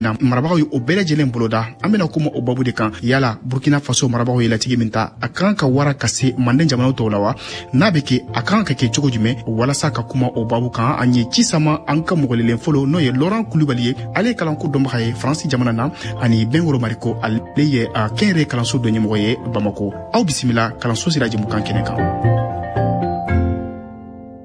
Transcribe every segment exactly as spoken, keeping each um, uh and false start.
Na marabagaw ye o bɛɛ lajɛlen boloda. An bɛna kuma o babu de kan. Yala Burkina Faso marabagaw ye latigɛ min ta, a kan ka wara ka se Manden jamanaw tɔw la wa? N'a bɛ kɛ, a kan ka kɛ cogo jumɛn? Walasa ka kuma o babu kan, an ye ci sama an ka mɔgɔlelen fɔlɔ, n'o ye Laurent Kulubali ye, ale ye kalanko dɔnbaga ye Faransi jamana na, ani Bɛnkoro Mariko, ale ye kɛnyɛrɛye kalanso dɔ ɲɛmɔgɔ ye Bamako. Aw bisimila kalanso sira jɛmukan kɛnɛ kan.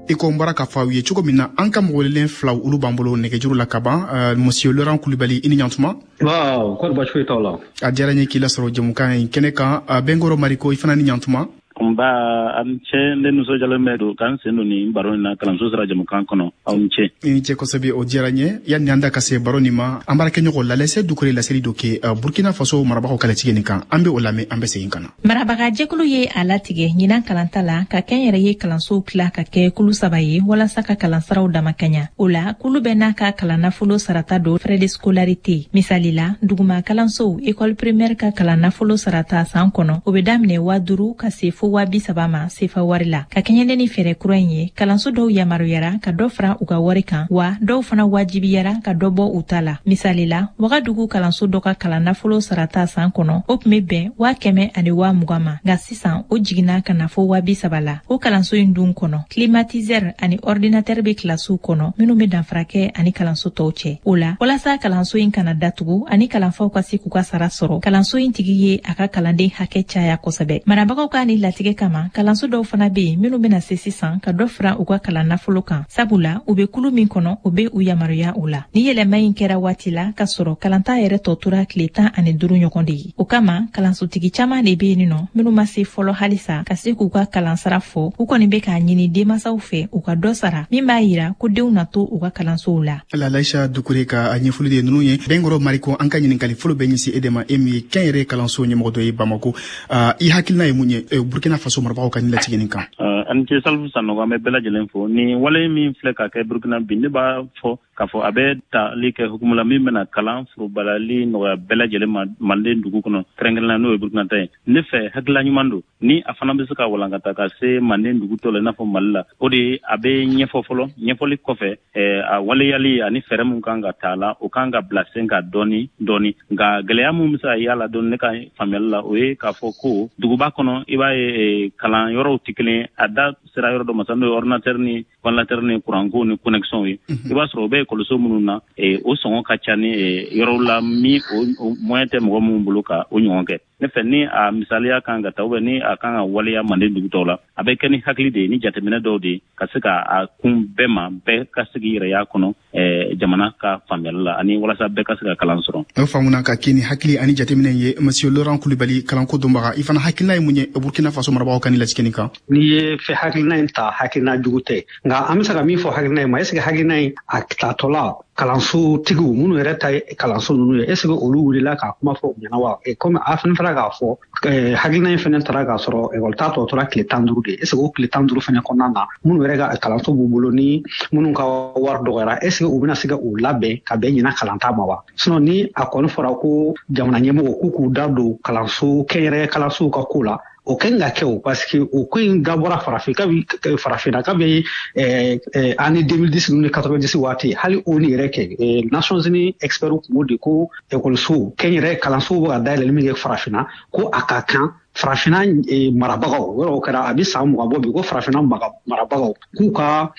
I ko n bɔra k'a fɔ aw ye cogo min na, an ka mɔgɔwelelen filaw, olu b'an bolo nɛgɛjuru la ka ban. euh, monsieur Laurent Kulubali, i ni ɲantuma. Waaw, kɔri baasi foyi t'aw la. A diyara n ye k'i lasɔrɔ jɛmukan in kɛnɛ kan. Bɛnkɔrɔ Mariko, i fana ni ɲantuma. Nba, a ni ce. Ne nisɔndiyalen bɛ don k'an sen don nin baro in na kalanso sira jɛmukan kɔnɔ. Aw ni ce. I ni ce kosɛbɛ, o diyara n ye. Yanni an da ka se baro nin ma, an baarakɛɲɔgɔn Lalɛsɛ Dukure laseli dɔ kɛ Burkina Faso marabagaw ka latigɛ nin kan. An bɛ o lamɛn, an bɛ segin ka na. Marabaga jɛkulu ye a latigɛ ɲinan kalanta la ka kɛnyɛrɛye kalansow tila ka kɛ kulu saba ye, walasa ka kalansaraw damakaɲa. O la, kulu bɛɛ n'a ka kalannafolo sarata don, frais de scolarité. Misali la, duguma kalansow, école primaire, ka kalannafolo sarata san kɔnɔ, o bɛ daminɛ waa duuru ka se fo waa bi saba ma sefa wari la. Ka kɛɲɛ ni fɛɛrɛ kura in ye, kalanso dɔw yamaruyara ka dɔ fara u ka wari kan, wa dɔw fana wajibiyara ka dɔ bɔ u ta la. Misali la, Wagadugu kalanso dɔ ka kalan nafolo sarata san kɔnɔ, o tun bɛ bɛn waa kɛmɛ ani waa mugan ma, nka sisan o jiginna ka na fo waa bi saba la. O kalanso in dun kɔnɔ, climatiseur ani ordinateur bɛ kilasiw kɔnɔ, minnu bɛ danfara kɛ ani kalanso tɔw cɛ. O la, walasa kalanso in kana datugu ani kalanfaw ka se k'u ka sara sɔrɔ, kalanso in tigi ye a ka kalanden hakɛ caya kosɛbɛ. Marabagaw ka ni latigɛ kama, kalanso dɔw fana bɛ yen minnu bɛna se sisan ka dɔ fara u ka kalan nafolo kan, sabula u bɛ kulu min kɔnɔ, o bɛ u yamaruya o la. Ni yɛlɛma in kɛra waati la ka sɔrɔ kalanta yɛrɛ tɔ tora tile tan ani duuru ɲɔgɔn de ye. O kama, kalansotigi caman de bɛ yen nɔ minnu ma se fɔlɔ halisa ka se k'u ka kalansara fɔ. U kɔni bɛ k'a ɲini denmansaw fɛ u ka dɔ sara, min b'a yira ko denw na to u ka kalansow la. Lalaisa Dukure ka ɲɛfɔli de ninnu ye. Bɛnkɔrɔ Mariko, an ka ɲininkali fɔlɔ bɛ ɲɛsin e de ma, e min ye kɛnyɛrɛye kalanso ɲɛmɔgɔ dɔ ye Bamako. I hakilina ye mun ye Burkina Faso marabagaw ka nin latigɛ nin kan? A ni ce, Salifu Sanɔgɔ. An bɛ bɛɛ lajɛlen fo. Nin wale min filɛ ka kɛ Burkina bi, ne b'a fɔ k'a fɔ a bɛ tali kɛ hukumu la min bɛna kalan forobalali nɔgɔya bɛɛ lajɛlen ma Manden dugu kɔnɔ, kɛrɛnkɛrɛnnenya n'o ye Burkina ta ye. Ne fɛ, hakilila ɲuman don ni a fana bɛ se ka walankata ka se Manden dugu tɔ la, i n'a fɔ Mali la. O de ye, a bɛ ɲɛfɔ fɔlɔ. Ɲɛfɔli kɔfɛ, a waleyali ani fɛɛrɛ mun kan ka ta la, o kan ka bila sen ka dɔɔni dɔɔni. Nka gɛlɛya mun bɛ se ka y'a la dɔɔni, ne ka faamuyali la, o ye k'a fɔ ko duguba kɔnɔ, i b'a ye kalan yɔrɔw tɛ kelen. A da sera yɔrɔ dɔ ma sa, n'o ye ordinateur ni ventilateur ni kuranko ni connexion ye. I b'a sɔrɔ o bɛ ekɔliso minnu na, o sɔngɔ ka ca ni yɔrɔw la min o moyen tɛ mɔgɔ minnu bolo ka o ɲɔgɔn kɛ. Ne fɛ, ni a misaliya kan ka ta, ni a kan ka waleya Manden dugu tɔw la, a bɛ kɛ ni hakili de ye, ni jateminɛ dɔw de ye, ka se ka a kun bɛɛ ma, bɛɛ ka sigi yɛrɛya kɔnɔ jamana ka faamuyali la, ani walasa bɛɛ ka se ka kalan sɔrɔ. O faamuna, ka kɛ ni hakili ani jateminɛ ye. Monsieur Laurent Kulubali, kalanko dɔnbaga, i fana hakilina ye mun ye Burkina Faso marabagaw ka ni latigɛ nin kan? N'i ye fɛ hakilina in ta, hakilina jugu tɛ, nka an bɛ se ka min fɔ hakilina in ma, est ce que hakilina in a tatɔla, kalansotigiw minnu yɛrɛ ta ye kalanso ninnu ye, est ce que olu wulila k'a kuma fɔ u ɲɛna wa? Komi a fana taara k'a fɔ hakilina in fana taara k'a sɔrɔ ekɔli ta tɔ tora tile tan duuru de, est ce que o tile tan duuru fana kɔnɔna na, minnu yɛrɛ ka kalanso b'u bolo ni minnu ka wari dɔgɔyara, est ce que u bɛna se ka u labɛn ka bɛn ɲinan kalanta ma wa? Sinon, ni a kɔni fɔra ko jamana ɲɛmɔgɔ k'u k'u da don kalanso, kɛnyɛrɛye kalansow ka ko la, o kan ka kɛ o, parce que o ko in dabɔra farafin kabi farafinna kabi année deux mille dix ni quatre-vingt-dix waati. Hali o ni yɛrɛ kɛ, Nations Unies experts kun b'o de ko ekɔliso, kɛnyɛrɛ kalansow bɛ ka dayɛlɛli min kɛ farafinna, ko a ka kan farafinna marabagaw yɔrɔ, o kɛra a bɛ san mugan bɔ bi, ko farafinna marabagaw k'u ka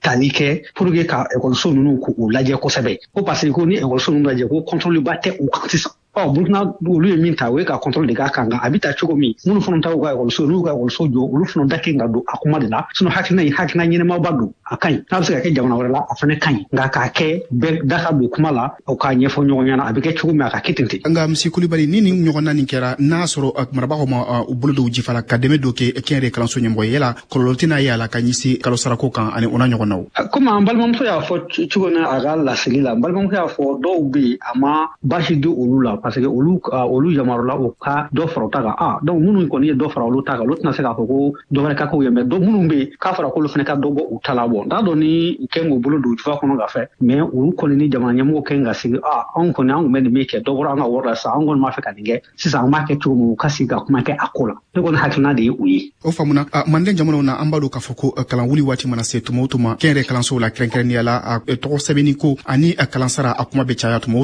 tali kɛ pour que ka ekɔliso ninnu k'u lajɛ kosɛbɛ, ko parce que ko ni ekɔliso ninnu lajɛ, ko contrôle ba tɛ u kan sisan. Ɔ, Burukina, olu ye min ta, o ye ka contrôle de k'a kan. Nka a bɛ ta cogo min, minnu fana ta u ka ekɔliso, n'u ka ekɔliso jɔ, olu fana da kɛ ka don a kuma de la. Sinon, hakilina in, hakilina ɲɛnɛmaba don, a ka ɲi. N'a bɛ se ka kɛ jamana wɛrɛ la, a fana ka ɲi, nka k'a kɛ bɛɛ da ka don kuma la, o k'a ɲɛfɔ ɲɔgɔn ɲɛna a bɛ kɛ cogo min, a ka kɛ ten ten. Nka monsieur Kulibali, ni nin ɲɔgɔnna nin kɛra, n'a sɔrɔ marabagaw ma u bolo don jifa la ka dɛmɛ dɔ kɛ kɛnyɛrɛ kalanso ɲɛmɔgɔ ye, yala kɔlɔlɔ tɛna ye a la ka ɲɛsin kalo sarako kan ani o n'a ɲɔgɔnnaw? Komi an balimamuso y'a fɔ cogo min a ka laseli la, n balimamuso y'a fɔ, dɔw bɛ yen, a ma baasi di olu la. Parce que olu olu yamarula u ka dɔ fara u ta kan. Ah, donc minnu kɔni ye dɔ fara olu ta kan, olu tɛna se k'a fɔ ko dɔ wɛrɛ ka k'u ye. Mais dɔ minnu bɛ yen k'a fɔra k'olu fana ka dɔ bɔ u ta la, bɔ n t'a dɔn ni u kɛn k'u bolo don jufa kɔnɔ ka fɛ. Mais olu kɔni ni jamana ɲɛmɔgɔ kɛn ka sigi, ah, anw kɔni an tun bɛ nin min kɛ, dɔ bɔra an ka wari la sisan, an kɔni b'a fɛ ka nin kɛ sisan, an b'a kɛ cogo min, u ka sigi ka kuma kɛ a ko la. Ne kɔni hakilina de ye o ye. O faamuna. Manden jamanaw na, an b'a dɔn k'a fɔ ko kalan wuli waati mana se tuma o tuma, kɛnyɛrɛ kalansow la, kɛrɛnkɛrɛnnenya la, tɔgɔ sɛbɛnni ko ani kalansara, a kuma bɛ caya tuma o